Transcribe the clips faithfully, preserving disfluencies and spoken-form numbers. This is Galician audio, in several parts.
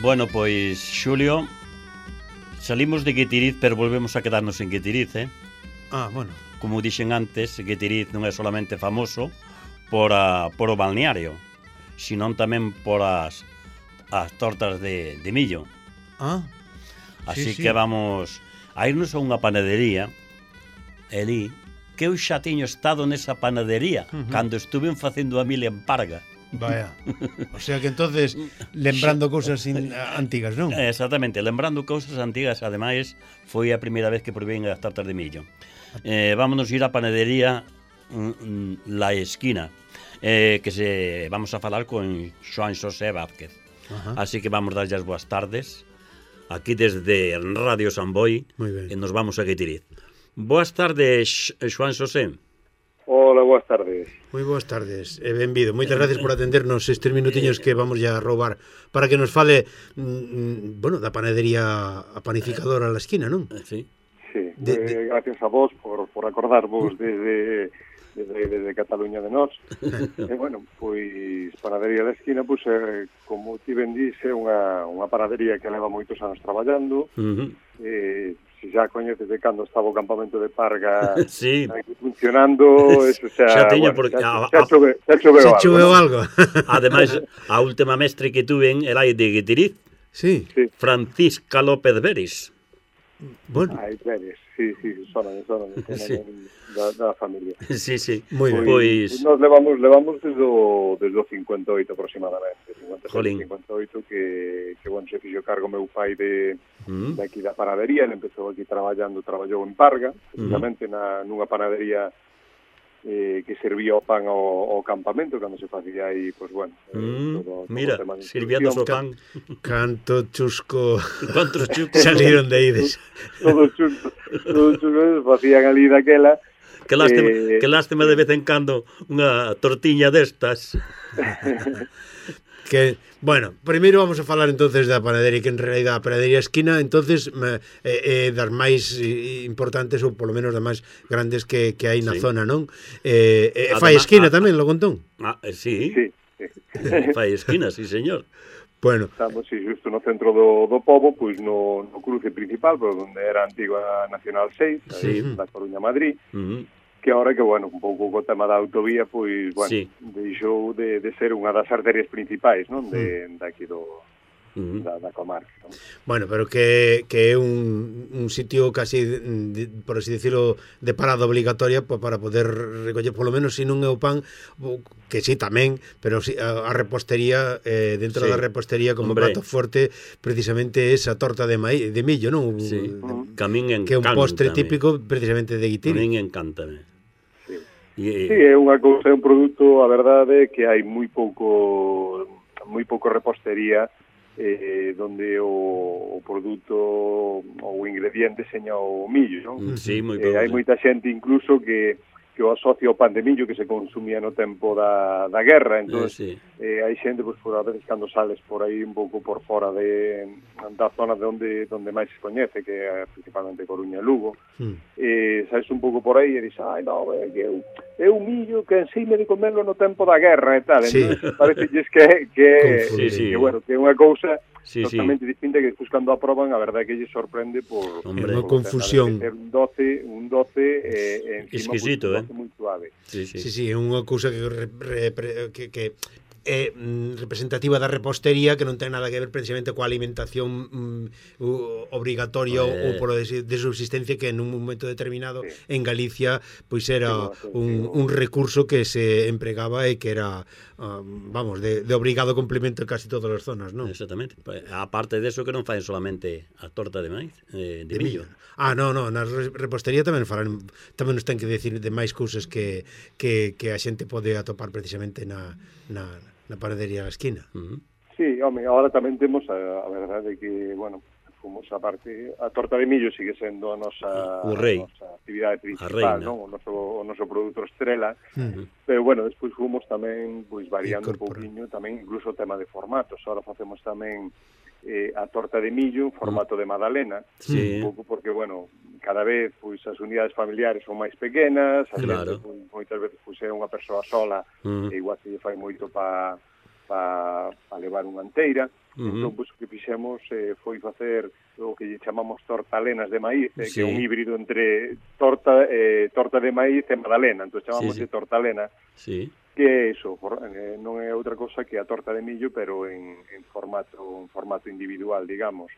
Bueno, pois, Xulio, salimos de Guitiriz, pero volvemos a quedarnos en Guitiriz, eh? Ah, bueno. Como dixen antes, Guitiriz non é solamente famoso por, a, por o balneario, senón tamén por as, as tortas de, de millo. Ah, Así sí, que sí. vamos a irnos a unha panadería, Elí, que eu xa tiño estado nesa panadería uh -huh. cando estuve facendo a mil en Parga. Vaya. O sea que entonces lembrando cousas antigas, non? Exactamente, lembrando cousas antigas. Ademais, foi a primeira vez que probei as tartas de millo. Eh, vámonos ir á panadería mm, La Esquina, eh, que se vamos a falar con Xoán Xosé Vázquez. Ajá. Así que vamos darlle as boas tardes aquí desde Radio Samboy e nos vamos a Guitiriz. Boas tardes, Xoán Xosé. Hola, boas tardes. Moi boas tardes e benvido. Moitas gracias por atendernos estes minutiños que vamos ya a roubar para que nos fale, mm, bueno, da panadería a panificadora a la esquina, non? Sí. Sí, de, de... Eh, gracias a vos por, por acordarvos desde, desde, desde Cataluña de nós. E, bueno, pois, panadería da esquina, pois, eh, como ti ben dixe, unha, unha panadería que leva moitos anos traballando. Uh -huh. Eh, se xa coñeces de cando estaba o campamento de Parga sí. aquí funcionando, eso xa, xa teño bueno, porque xa, xa, chove, xa choveu algo. Choveu algo. Ademais, a última mestre que tuven era de Guitiriz. Sí. sí. Francisca López Veris. Bueno. Ai, Veris, sí, sí, sonan, sonan, sí. Da, da familia. Sí, sí. Moi ben. Pois nos levamos levamos desde o desde o cincuenta e oito aproximadamente, cincuenta e sete, cincuenta e oito que que bueno, se fixo cargo meu pai de mm. de aquí da panadería, ele empezou aquí traballando, traballou en Parga, precisamente mm. na nunha panadería eh, que servía o pan ao, ao campamento cando se facía aí, pois bueno, mm. todo, todo mira, sirviendo o pan. Canto chusco. Cantos chuscos salieron de aí. Todos chuscos, todos chuscos facían ali daquela. Que lástima, eh... que lástima de vez en cando unha tortiña destas. Que, bueno, primeiro vamos a falar entonces da panadería, que en realidad a panadería esquina, entonces eh, eh, das máis importantes ou polo menos das máis grandes que, que hai na sí. zona, non? Eh, eh, fai esquina a, tamén, logo entón? Ah, sí, sí, sí. Fai esquina, sí, señor. Bueno. Estamos, sí, justo no centro do, do pobo, pois no, no cruce principal, por onde era a antiga Nacional seis, sí. da Coruña Madrid, uh -huh. que ahora que, bueno, un pouco co tema da autovía, pois, bueno, sí. deixou de, de ser unha das arterias principais, non, de, de aquí do... Uh -huh. da, da comarca, non? Bueno, pero que, que é un, un sitio casi, de, por así decirlo, de parada obligatoria para poder recoller, polo menos, se non é o pan, que sí, tamén, pero sí, a, a repostería, eh, dentro sí. da repostería, como Hombre. plato fuerte, precisamente esa torta de maíz, de millo, non? Sí, uh -huh. que a min encanta. Que é un postre típico, precisamente, de Guitiriz. A min encántame. Sí. E... sí, é unha cousa, é un produto, a verdade, que hai moi pouco, moi pouco repostería, eh, donde o, o produto ou o ingrediente seña o millo, non? Sí, moi eh, hai moita xente incluso que que o asocia ao pan de millo que se consumía no tempo da, da guerra, entón, eh, sí. eh, hai xente, pois, por a veces, cando sales por aí un pouco por fora de, da zona de onde, donde máis se coñece, que é principalmente Coruña e Lugo, mm. eh, sales un pouco por aí e dices, ai, non, é que eu, é un millo que enseime de comerlo no tempo da guerra e tal, sí. entón, parece que, que, sí, sí. que, bueno, que é unha cousa sí, totalmente sí. distinta, que despois cando aproban, a verdade que lle sorprende por... Hombre, unha confusión. Ter un doce, un doce eh, encima, exquisito, pues, un doce eh? moi suave. Sí, sí, sí, sí, é unha cousa que, re, re, que, que é mm, representativa da repostería, que non ten nada que ver precisamente coa alimentación mm, obrigatoria eh. ou por de, de subsistencia, que en un momento determinado sí. en Galicia pois era sí, un, un recurso que se empregaba e que era uh, vamos, de, de obrigado complemento en casi todas as zonas, non? Exactamente. Aparte de eso, que non faen solamente a torta de maíz, eh, de, de millo. millo. Ah, no, no, na repostería tamén falan, tamén nos ten que decir de máis cousas que, que, que a xente pode atopar precisamente na, na, na panadería da esquina. Uh -huh. Sí, home, agora tamén temos a, a verdade que, bueno, fomos a parte, a torta de millo sigue sendo a nosa, o rei. A nosa actividade principal, non? O noso, o noso produto estrela, uh -huh. pero, bueno, despois fomos tamén, pois, variando un pouquiño, tamén incluso o tema de formatos. Ahora facemos tamén eh, a torta de millo en formato de magdalena, sí. un pouco porque, bueno, cada vez pois as unidades familiares son máis pequenas, a claro. gente, pois, moitas veces pois é unha persoa sola, uh -huh. e igual se lle fai moito para para pa levar unha anteira. Uh-huh. Entón, pois, o que fixemos eh, foi facer o que lle chamamos tortalenas de maíz, eh, sí. que é un híbrido entre torta eh, torta de maíz e magdalena, entón chamamos sí, sí. de tortalena, sí. que é iso, for, eh, non é outra cosa que a torta de millo, pero en, en formato en formato individual, digamos.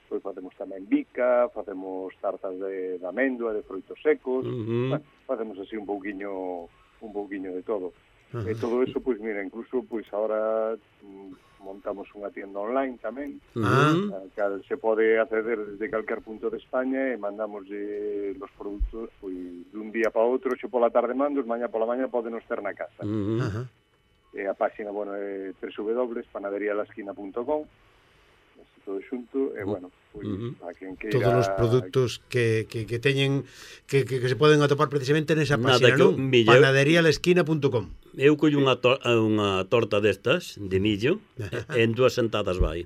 Pois facemos tamén bica, facemos tartas de, de amêndoa, de froitos secos, Uh-huh. bueno, facemos así un pouquiño un pouquiño de todo. Uh-huh. E todo eso, pois mira, incluso pois agora mm, montamos unha tienda online tamén, Uh-huh. a cal se pode acceder desde calquer punto de España e mandamos os produtos pois dun día para outro, xo pola tarde mandos, mañá pola mañá podenos ter na casa. Uh-huh. Ajá. E a página, bueno, é doble u doble u doble punto panadería la esquina punto com, todo xunto, e bueno, pois Uh-huh. a quen queira... Todos os produtos que, que, que teñen que, que, que se poden atopar precisamente nesa Nada, página, que non? un millón- panadería la esquina punto com. Eu collo unha, tor unha torta destas, de millo, e en dúas sentadas vai.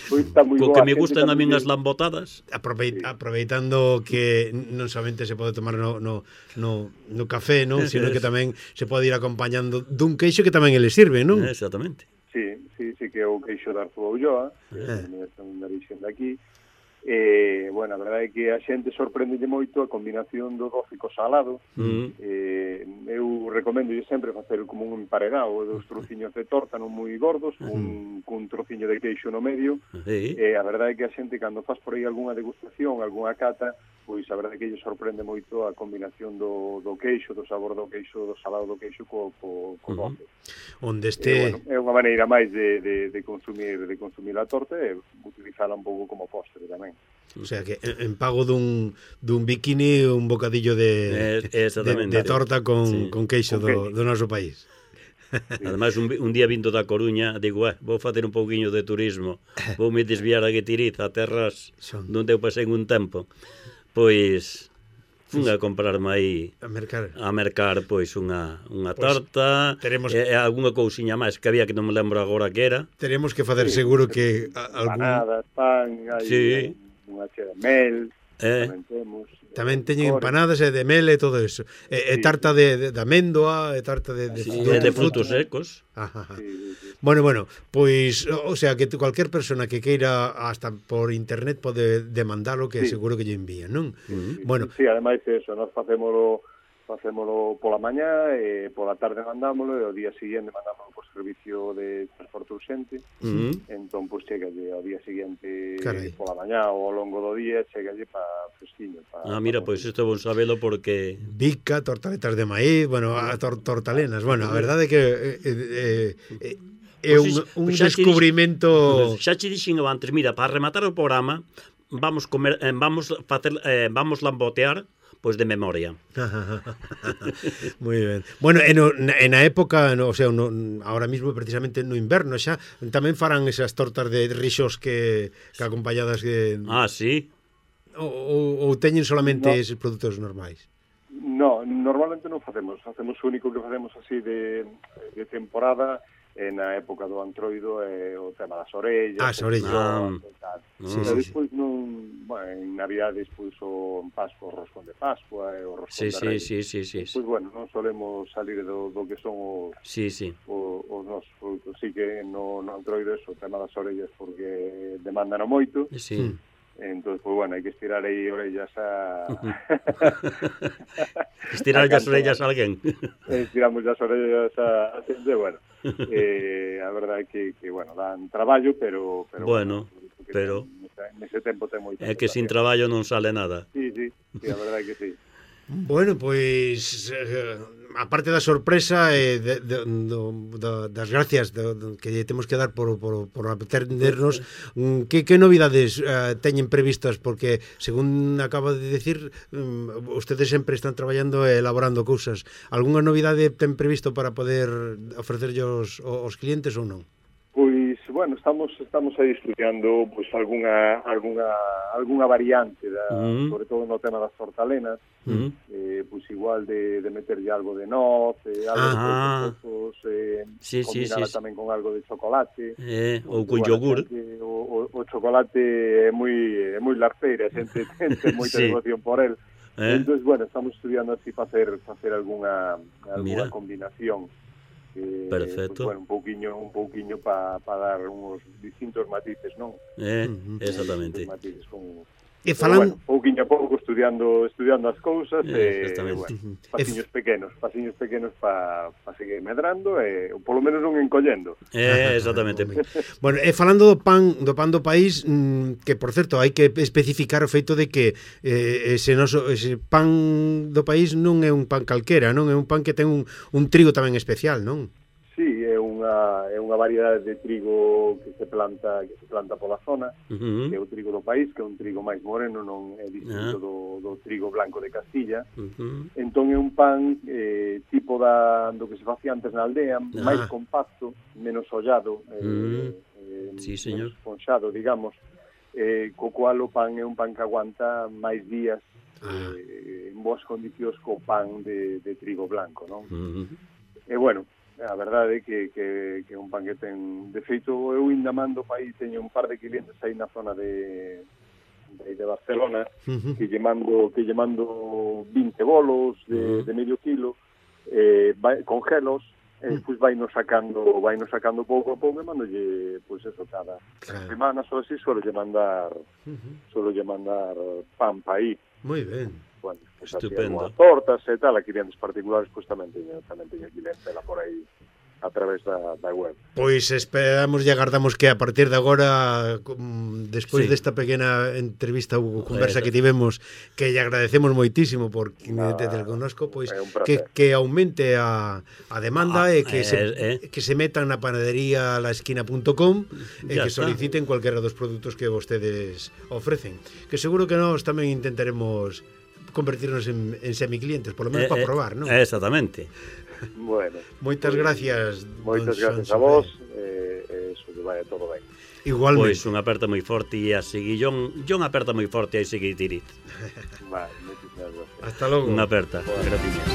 Pois está moi Co boa, que me xente gustan a min tamén as lambotadas. Aprove aproveitando que non somente se pode tomar no, no, no, no café, non? Sino que tamén se pode ir acompañando dun queixo que tamén ele sirve, non? Exactamente. Sí, sí, sí que é o queixo de Arturo Ulloa, que Eh. é unha origen daqui. E, bueno, a verdade é que a xente sorprendelle moito a combinación do doce co salado. Mm. Eh, eu recomendo sempre facer como un emparedado dos trociños de torta non moi gordos, cun, cun trociño de queixo no medio. Sí. E a verdade é que a xente, cando faz por aí algunha degustación, algunha cata, pois a verdade é que lle sorprende moito a combinación do, do queixo, do sabor do queixo, do salado do queixo co, co, co Uh-huh. doce. Onde E, este... bueno, é unha maneira máis de, de, de consumir de consumir a torta e utilizala un pouco como postre tamén. O sea que en, en pago dun, dun bikini un bocadillo de, Eh, de, exactamente. de torta con, Sí. con queixo Con do, queixo. do noso país. Ademais, un, un día vindo da Coruña, digo, eh, vou facer un pouquiño de turismo, vou me desviar a Guetiriz, a terras Son. donde eu pasei un tempo. Pois, fun a comprarme aí A mercar. a mercar pois unha, unha Pois, torta teremos- e, e algunha cousiña máis que había que non me lembro agora que era. Teremos que facer Sí. seguro que a- algún... Empanadas, pan, hai Sí. unha chea de mel, Eh. tamén temos. Tamén eh, teñen licores. empanadas e de mel e todo eso. E, e Sí. tarta de, de, de amêndoa, e tarta de, de, Sí, de, e de outros frutos secos. Ajá, ajá. Sí, sí, sí. Bueno, bueno, pois, o sea, que tu- cualquier persona que queira hasta por internet pode demandalo, que Sí. seguro que lle envían, non? Mm. Bueno, Sí, ademais eso, nós facémolo facémolo pola mañá e pola tarde mandámolo e o día seguinte mandámolo por servicio de transporte urxente. Mm. Entón, pois, chegalle ao día seguinte Carai. pola mañá ou ao longo do día, chegalle pa fresquiño. Pa, Ah, mira, pa pois isto é bon sabelo porque bica, tortaletas de maíz, bueno, a tor tortalenas. Bueno, a verdade é que eh, eh, eh, é un, Pois iso- un pois xa che dix- descubrimento... xa che dixen eu antes, mira, para rematar o programa, vamos comer eh, vamos facer eh, vamos lambotear pois de memoria. Moi ben. Bueno, e no, na, en a época, no, o sea, no, ahora mismo precisamente no inverno xa tamén farán esas tortas de rixos que, que acompañadas de, Ah, sí. ou, ou teñen solamente No. esos produtos normais. No, normalmente non facemos, facemos o único que facemos así de, de temporada e na época do antroido é o tema das orellas, Ah, as orellas. Ah. e tal. Sí, Pero sí, despois non, bueno, en Navidades pois o en Pascua, o roscón de Pascua e o roscón Sí, de sí, Reyes. sí, sí, sí. Pois bueno, non solemos salir do, do que son os, Sí, sí. os, os nosos produtos. Sí que no, no antroido eso, o tema das orellas porque demandan moito. Sí. Mm. Entón, pois bueno, hai que estirar aí orellas a... Estirar a as orellas a alguén. estiramos as orellas a, a xente, bueno, eh, a verdade é que, que, bueno, dan traballo, pero... pero Bueno, porque pero- ten- nese tempo ten moito. É que sin traballo non sale nada. Sí, sí, sí, a verdade é que sí. Bueno, pois eh, aparte da sorpresa e de, de, do, do, das gracias do, do, que lle temos que dar por, por, por atendernos, mm, que, que novidades eh, teñen previstas? Porque, según acaba de decir, um, ustedes sempre están traballando e elaborando cousas. Algúnha novidade ten previsto para poder ofrecerlle aos, aos clientes ou non? Pois, bueno, estamos estamos aí estudiando pois algunha algunha algunha variante da, Mm. sobre todo no tema das tortalenas, Mm. eh, pois igual de, de meterlle algo de noz, eh, algo Ah. de frutos secos, eh, Sí, sí, combinala sí. tamén con algo de chocolate. Eh, ou Porque, con bueno, yogur. que O, o, o chocolate é moi é moi larteira, a xente ten, ten moita Sí. devoción por el. Eh? Entón, bueno, estamos estudiando así facer facer algunha algunha Mira. combinación. que perfecto. Pues, bueno, un pouquiño un pouquiño para pa dar uns distintos matices, non? Eh, exactamente. Distintos matices con E falan... bueno, pouquiño a pouco estudiando estudiando as cousas eh, e bueno, pasiños pequenos, pasiños pequenos para pa seguir medrando e polo menos non encollendo. Eh, exactamente. Bueno, e falando do pan do pan do país, mmm, que por certo hai que especificar o feito de que eh, ese noso ese pan do país non é un pan calquera, non é un pan que ten un, un trigo tamén especial, non? Sí, é unha é unha variedade de trigo que se planta que se planta pola zona, Uh-huh. que é o trigo do país, que é un trigo máis moreno, non é distinto Ah. do, do trigo blanco de Castilla. Uh-huh. Entón é un pan eh, tipo da, do que se facía antes na aldea, Ah. máis compacto, menos ollado, eh, Mm. eh, Sí, señor. menos esponxado, digamos, eh, co cual o pan é un pan que aguanta máis días Ah. eh, en boas condicións co pan de, de trigo blanco, non? Uh-huh. E bueno, a verdade é que, que, que é un pan que ten... De feito, eu ainda mando aí, teño un par de clientes aí na zona de, de, de Barcelona, Uh-huh. que lle mando, que lle mando vinte bolos de, Uh-huh. de medio kilo, eh, vai, congelos, e Uh-huh. pois vai nos sacando, vai nos sacando pouco a pouco, e mandolle, pois eso, cada Claro. semana ou así, suelo lle mandar, Uh-huh. suelo lle mandar pan pa aí. Moi ben. Bueno, pues Estupendo. as tortas e tal, a clientes particulares, pues tamén teño, tamén teño clientela por aí a través da, da web. Pois esperamos e agardamos que a partir de agora, com, despois Sí. desta pequena entrevista ou conversa Eso. que tivemos, que lle agradecemos moitísimo por Nada, tener connosco, pois é un que, placer. que aumente a, a demanda Ah, e que, eh, se, eh. que se metan na panadería laesquina punto com e Ya que está. soliciten cualquera dos produtos que vostedes ofrecen. Que seguro que nós tamén intentaremos convertirnos en, en semiclientes, polo menos Eh, para eh, probar, non? Exactamente. Bueno, Moitas gracias, moitas don gracias a Son vos, Sofé. e eh, eso que vaya todo ben. Igualmente. Pois unha aperta moi forte e a seguir John, John aperta moi forte e a seguir tirit. Vale, moitísimas gracias. Hasta logo. Unha aperta. Bueno. Gracias.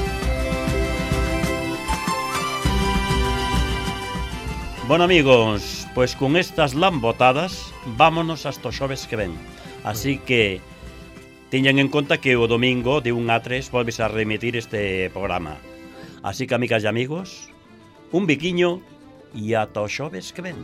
Bueno, amigos, pois con estas lambotadas vámonos hasta os xoves que ven. Así que teñan en conta que o domingo de un a tres volves a remitir este programa. Así que, amigas e amigos, un biquiño e ata os xoves que ven.